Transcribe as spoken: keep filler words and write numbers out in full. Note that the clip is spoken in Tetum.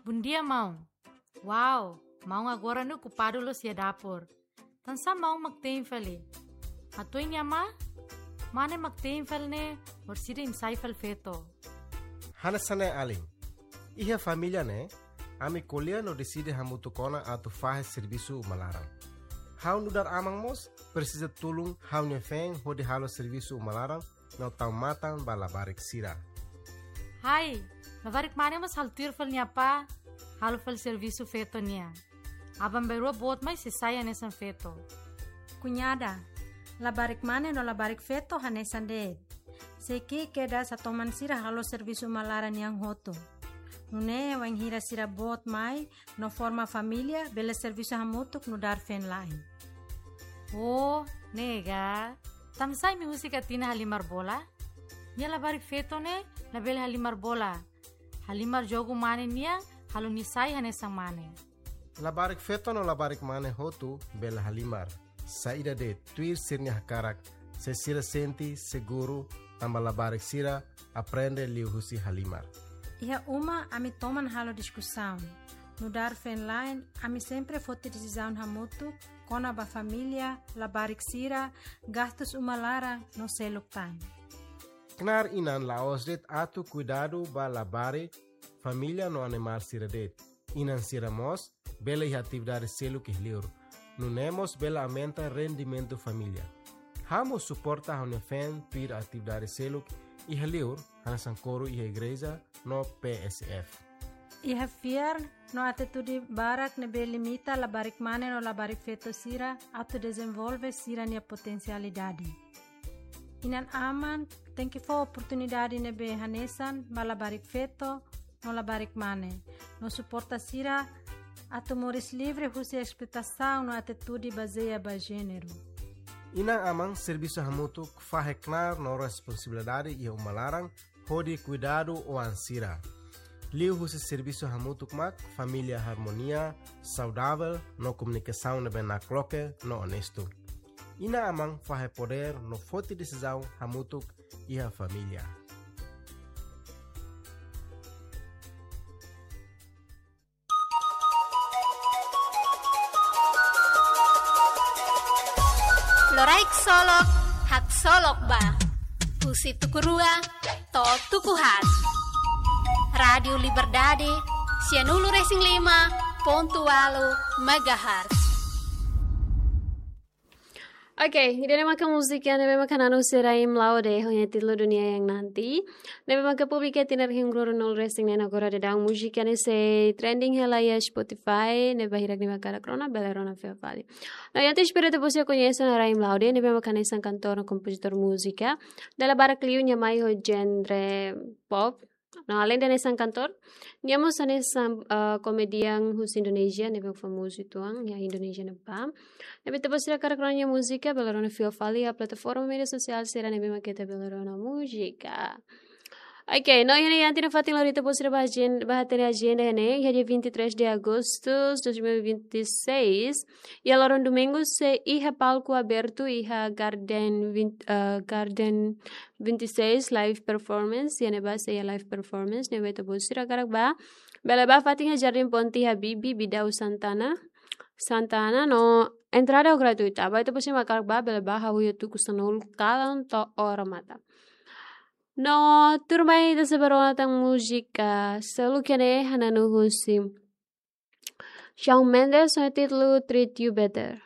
Bondia, maun. Wow, maun agora ne'e okupadu loos iha dapur. Tansá maun mak te'in fali? Hato'o nia mane, mane mak te'in fali ne'e, orsida imi sai fali feto. Hanesan ne'e alin. Iha família ne'e, ami ko'alia no deside hamutuk ona atu fahe servisu uma laran. Ha'u nu'udar aman mós presiza tulun ha'u-nia feen hodi halo servisu uma laran no tau matan ba labarik sira. Hai, labarik mane mós halo tuir fali nia apá, halo fali servisu feto nian. Aban-bainrua boot mai sei sai hanesan feto. Kuñada, labarik mane no labarik feto hanesan de'it. Sei ki'ik kedas atu toman sira halo servisu uma laran nian hotu. Nune'e wainhira sira boot mai no forma família, bele servisu hamutuk nu'udar feen-la'en. Oh, ne'e ka. Tansá imi husik Atina halimar bola? Nia labarik feto ne'e labele halimar bola. Halimar jogu mane nian, halo nia sai hanesan mane. Labarik feto no labarik mane hotu bele halimar. Saida de'it, tuir sira-nia hakarak, se sira sente seguru, tanba labarik sira aprende liuhusi halimar. Iha uma ami toman halo diskusaun. Nu'udar feen-la'en, ami sempre foti desizaun hamutuk kona-ba família, labarik sira, gastus uma laran no seluk tan. Knaar inan la'ós de'it atu kuidadu ba labarik, família no animál sira de'it. Inan sira mós bele iha atividade seluk iha li'ur. Nune'e mós bele aumenta rendimentu família. Ha'u mós suporta ha'u-nia feen tuir atividade seluk iha li'ur, hanesan koru iha igreja no P S F. Iha fiar no atitude barak ne'ebé limita labarik mane no labarik feto sira atu dezenvolve sira-nia potensialidade. Inan-aman tenke fó oportunidade ne'ebé hanesan ba labarik feto no labarik mane, no suporta sira atu moris livre husi esploitasaun no atitude bazeia ba jéneru. Inan-aman servisu hamutuk fahe knaar no responsabilidade iha uma laran hodi kuidadu oan sira. Liuhusi servisu hamutuk mak família harmonia, saudavel no komunikasaun ne'ebé nakloke no onestu. Inan-aman fahe podér no foti desizaun hamutuk iha família. Loraik solok, haksolok ba. Husi tuku rua to'o tuku haat. Rádiu Liberdade, sianulu resin lima pontu ualu megahertz. Oke, ida-ne'e maka múzika ne'ebé maka na'an husi Rahim Laude, ho nia títulu Dunia Yang Nanti. Ne'ebé maka publika tinan rihun rua ruanulu resin neen. Agora daudaun múzika ne'e sei trending hela iha Spotify, ne'ebé hirak ne'e maka hakarak rona, bele rona fila fali. No, ita espera atu bosok koñese ona Rahim Laude, ne'ebé maka hanesan kantór no kompozitór múzika. Dala barak liu nia mai ho genre pop. No, aleinde hanesan kantór, nia mós hanesan, ah, komedian husi Indonézia, ne'ebé famozu uitoan iha Indonézia ne'ebá. Ne'ebé ita-boot sira hakarak rona nia múzika, bele rona fila fali iha plataforma média sosiál sira ne'ebé maka ita bele rona múzika. Oke, no iha ne'e iha ita-nia fatin lori, ita-boot sira bá ajen-, bá hatene ajenda iha ne'e, iha dia vinte e três de agosto de dois mil e vinte e seis, iha loron domingu sei iha palku abertu, iha Garden vinte, eh, Garden vinte e seis live performance, iha ne'ebá sei iha live performance, ne'ebé ita-boot sira hakarak bá, bele bá fatin iha Jardim Ponte Habibie, Bidau Santana, Santana, no entrada gratuita. Ba ita-boot sira mak hakarak bá, bele bá, hahú iha tuku sanulu kalan to'o odamatan. No, tuirmai ita sei bá rona tan múzika seluk iha ne'e, hananu husi Shawn Mendes, ho nia títulu Treat You Better.